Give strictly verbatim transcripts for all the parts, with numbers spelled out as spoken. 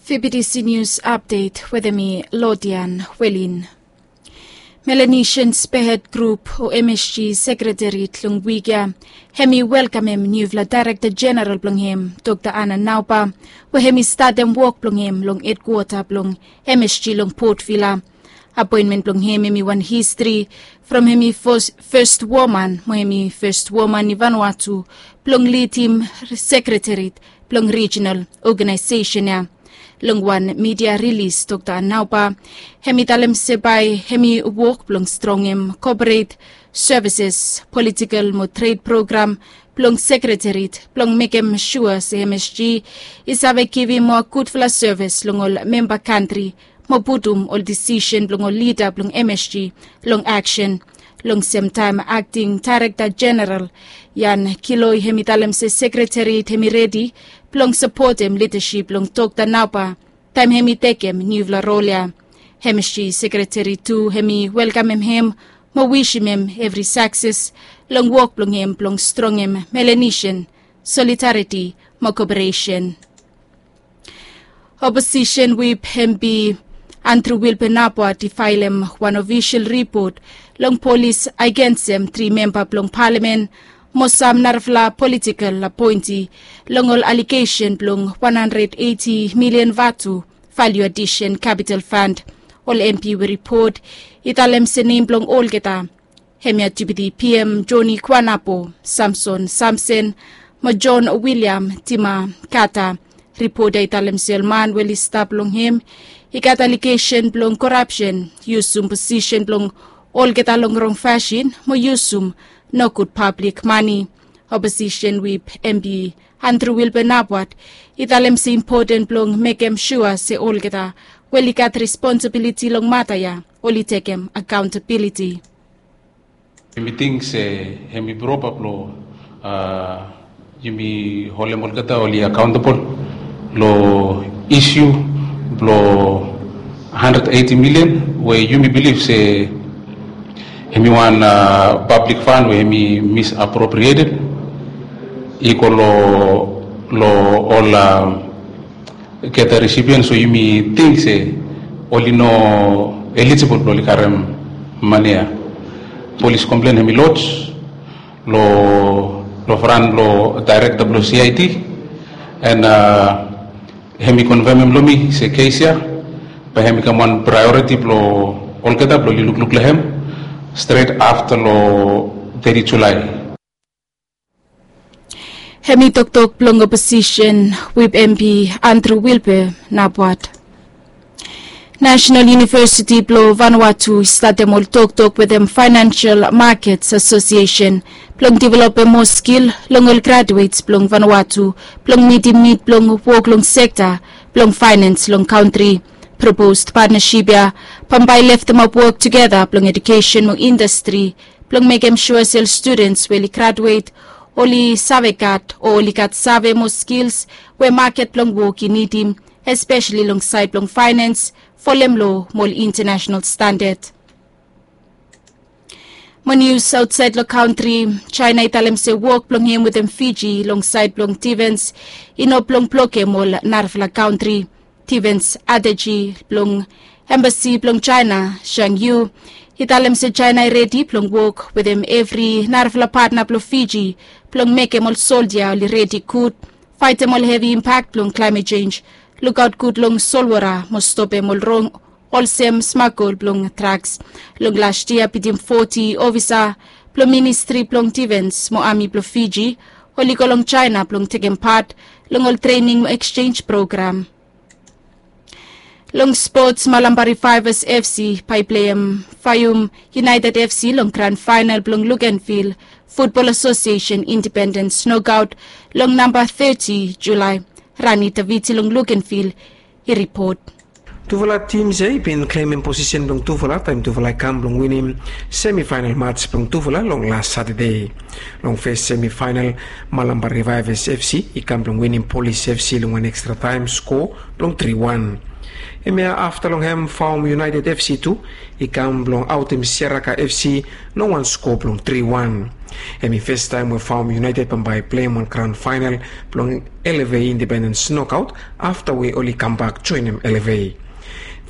Fibidisi News Update wetem mi Lodian Welin. Melanesian Spearhead Group o M S G Sekretariat long wik ya hemi welkamem niufala Daerekta Jeneral blong hem, Dokta Ana Nauba, we hemi statem wok blong hem long hedkwota blong M S G long Port Vila. Apoenmen blong hem hemi wan histri from hemi fes woman mo hemi fes woman i Vanuatu blong lidim sekretariat blong rijinal ogenaesesen ya. Long wan midia rilis, Dokta Nauba hemi talem se bae hemi wok blong strongem koporet sevises, politikel mo tred program blong sekretariat blong mekem sua se M S G i save givim moa gudfala sevis long ol memba kantri mo putum ol disisen blong ol lida blong M S G long aksen. Long semtaem, Akting Daerekta Jeneral Jan Kiloi hemi talem se sekretariat hemi redi blong sapotem lidasip blong Dokta Nauba taem hemi tekem niufala rol ya. M S G Sekretariat tu hemi welkamem hem mo wisim hem evri sakses long wok blong hem blong strongem Melanesian solidariti mo koperesen. Oposisen Wip M P Andrew Wilbur Naboat i faelem wan ofisol ripot long polis agensem tri memba blong palamen mo sam narafala politikel apoenti long ol alegesen blong wan handred eiti milian vatu, value addition capital fund. Ol M P we ripot i talem se nem blong olgeta hemia Deputy P M Joni Kuanapo, Samson Samson mo John William Tima Kata. Ripot ya i talem se ol man we oli stap long hem i gat alegesen blong korapsen, yusum posisen blong olgeta long rong fasin mo yusum nogud pablik mane. Oposisen Wip M P Andrew Wilbur Naboat i talem se impoten blong mekem sua se olgeta we oli gat responsibiliti long mata ya oli tekem akaontabiliti. Yumi ting se hemi propa blong yumi holem olgeta oli akaontabol long isu blong handred eiti milian we yumi bilif se hemi wan pablik fan we hemi misapropriated i go long ol geta resipiens we yumi ting se oli no elijibol blong oli karem mane ya. Polis komplen hemi loj long fran blong daerekta blong C I D, and hemi konfemem long mi se kes ya bae hemi kam wan praeoriti blong olgeta blong oli lukluk long hem stret afta long teti Julae. Hemi toktok blong oposisen Wip M P Andrew Wilbur Naboat. Nasenal Univesiti blong Vanuatu i statem ol toktok wetem Financial Markets Association blong developem moa skil long ol graduets blong Vanuatu blong mitim nid blong wok long sekta blong faenens long kantri. Propos patnasip ya bambae i leftemap wok tugeta blong edukesen mo indastri blong mekem sua se ol studens we oli graduet oli save gat o oli gat save mo skils we maket blong wok i nidim, espeseli long saed blong faenens, folem loa mo ol intanasenal standad. Mo nius aotsaed long kantri, Jaena i talem se wok blong hem wetem Fiji long saed blong difens i no blong blokem ol narafala kantri. Difens ateji blong embasi blong Jaena, Zhang Yu, i talem se Jaena i redi blong wok wetem evri narafala patna blong Fiji blong mekem ol soldia oli redi gud faetem ol hevi impak blong klaemet jenj, lukaot gud long solwota mo stopem ol rong olsem smagol blong draks. Long las yia bitim foti ofisa blong ministri blong difens mo ami blong Fiji oli go long Jaena blong tekem pat long ol trening mo eksjenj program. Long spots, Malampa Revivers F C bae i pleim Faium United F C long gran faenal blong Luganville Futbol Asosiesen Indipendens Nokaot long namba teti Julae. Rani Taviti long Luganville i ripot. Tufala tims ya i bin klemem posisen blong tufala taem tufala i kam blong winim semifaenal mats blong tufala long las Satade. Long fes semifaenal, Malampa Revivers F C i kam blong winim Polis F C long wan ekstra taem skoa blong tri wan. Hemia afta long hem Faum United F C tu i kam blong aotem Siaraka F C long wan skoa blong tri wan. Hem i festaem we Faum United bambae i pleim wan grand faenal blong L F A Independence nokaot afta we oli kambak joenem L F A.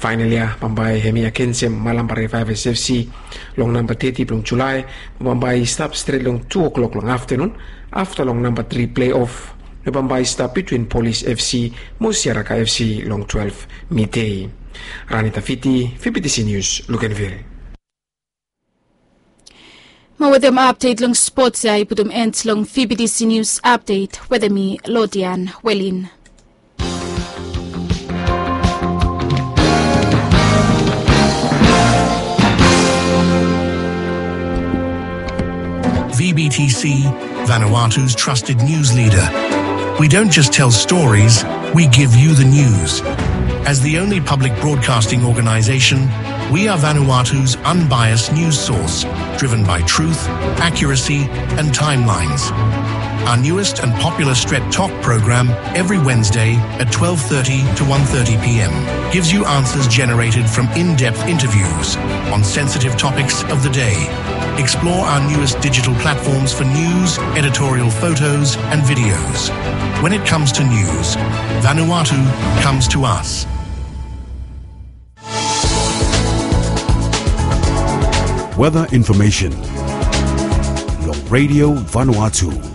Faenal ya bambae hem i agensem Malampa Revivers F C long namba teti blong Julae, bambae i stap stret long tu o'klok long aftenun afta long namba tri pleof. Bambae i stap bitwin Polis F C mo Siaraka F C long twelef midei. Ranita Fiti, V B T C News, Luganville. Mo wetem apdet long spots ya i putum end long V B T C News Update wetem mi Lodian Welin. V B T C, Vanuatu's trusted news leader. We don't just tell stories, we give you the news. As the only public broadcasting organization, we are Vanuatu's unbiased news source, driven by truth, accuracy, and timelines. Our newest and popular Stret Tok program, every Wednesday at twelve thirty to one thirty p m, gives you answers generated from in-depth interviews on sensitive topics of the day. Explore our newest digital platforms for news, editorial photos, and videos. When it comes to news, Vanuatu comes to us. Weather information. Long Radio Vanuatu.